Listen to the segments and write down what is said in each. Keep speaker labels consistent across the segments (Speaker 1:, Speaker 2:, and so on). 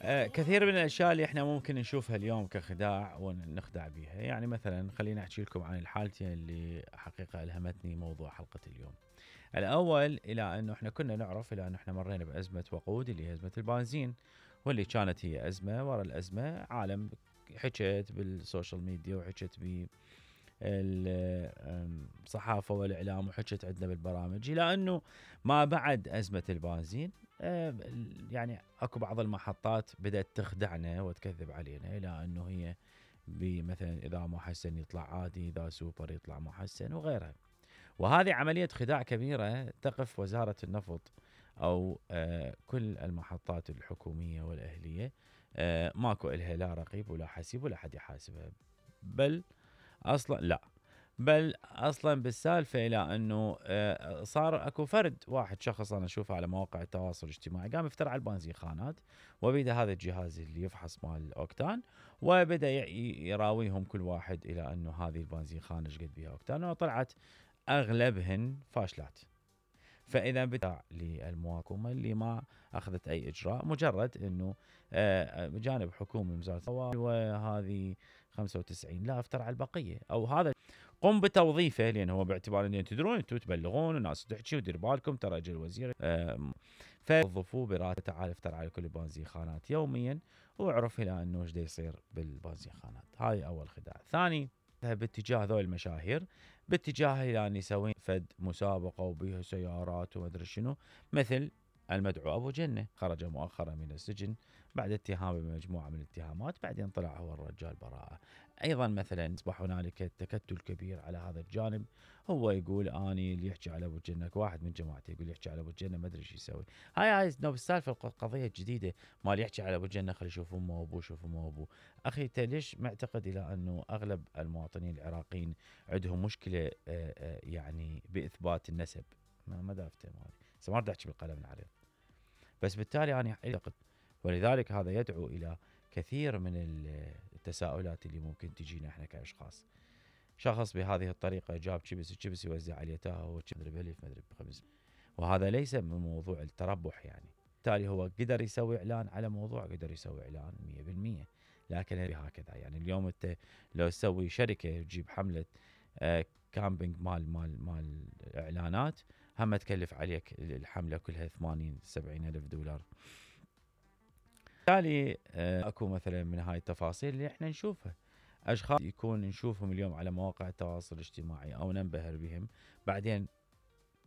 Speaker 1: كثير من الاشياء اللي احنا ممكن نشوفها اليوم كخداع ونخدع بيها، يعني مثلا خليني احكي لكم عن الحالتين اللي حقيقه الهمتني موضوع حلقه اليوم. الاول الى انه احنا كنا نعرف الى انه احنا مرينا بازمه وقود اللي هي ازمه البنزين، واللي كانت هي ازمه ورا الازمه، عالم حكت بالسوشيال ميديا وحكت الصحافه والاعلام وحكت عندنا بالبرامج، الى انه ما بعد ازمه البنزين يعني اكو بعض المحطات بدات تخدعنا وتكذب علينا، الى انه هي مثلا اذا محسن يطلع عادي، اذا سوبر يطلع محسن وغيرها. وهذه عمليه خداع كبيره تقف وزاره النفط او كل المحطات الحكوميه والاهليه ماكو الها لا رقيب ولا حسيب ولا حد يحاسبها، بل اصلا لا، بل اصلا بالسالفه الى انه صار اكو فرد واحد شخص انا اشوفه على مواقع التواصل الاجتماعي قام يفترى على البنزينخانات، وبدا هذا الجهاز اللي يفحص مال الاوكتان وبدا يراويهم كل واحد الى انه هذه البنزينخانه ايش قد بها اوكتان، وطلعت اغلبهن فاشلات. فاذا بتاع للمواكمه اللي ما اخذت اي اجراء، مجرد انه بجانب حكومي من وزاره وهذه 95 لا افتر على البقيه، او هذا قم بتوظيفه، لان هو باعتبار ان تدرون انتم تبلغون والناس تحكي ودير بالكم ترى اجى الوزير فوظفوه براتب، تعال افتر على كل البنزينخانات يوميا واعرف الى انه ايش يصير بالبنزينخانات. هاي اول خداع. ثاني باتجاه ذول المشاهير، باتجاه الى ان يسوين فد مسابقه وبيها سيارات وما ادري شنو، مثل المدعو ابو جنه خرج مؤخرا من السجن بعد اتهامه بمجموعه من الاتهامات، بعدين طلع هو الرجال براءه. ايضا مثلا اصبح هنالك تكتل كبير على هذا الجانب، هو يقول اني اللي يحكي على ابو جنه، واحد من جماعته يقول يحكي على ابو جنه ما ادري ايش يسوي. هاي السالفه القضيه الجديده مال يحكي على ابو جنه خلي يشوف امه وابوه، شوف امه وابوه. اخي انت ليش معتقد الى انه اغلب المواطنين العراقيين عندهم مشكله يعني باثبات النسب؟ ما دافته مالي ما احكي بالقلم العريض، بس بالتالي انا اعتقد، ولذلك هذا يدعو الى كثير من التساؤلات اللي ممكن تجينا احنا كاشخاص. شخص بهذه الطريقه جاب كبس يوزع على اليتامى مدري بألف مدري بخمس، وهذا ليس من موضوع التربح يعني. بالتالي هو قدر يسوي اعلان على موضوع، قدر يسوي اعلان 100%، لكن هكذا يعني اليوم انت لو تسوي شركه تجيب حمله كامبينج مال اعلانات، هم تكلف عليك الحمله كلها 80-70 الف دولار. بالتالي اكو مثلا من هاي التفاصيل اللي احنا نشوفها، اشخاص يكون نشوفهم اليوم على مواقع التواصل الاجتماعي او ننبهر بهم، بعدين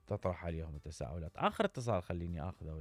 Speaker 1: تطرح عليهم التساؤلات. اخر اتصال خليني اخذه.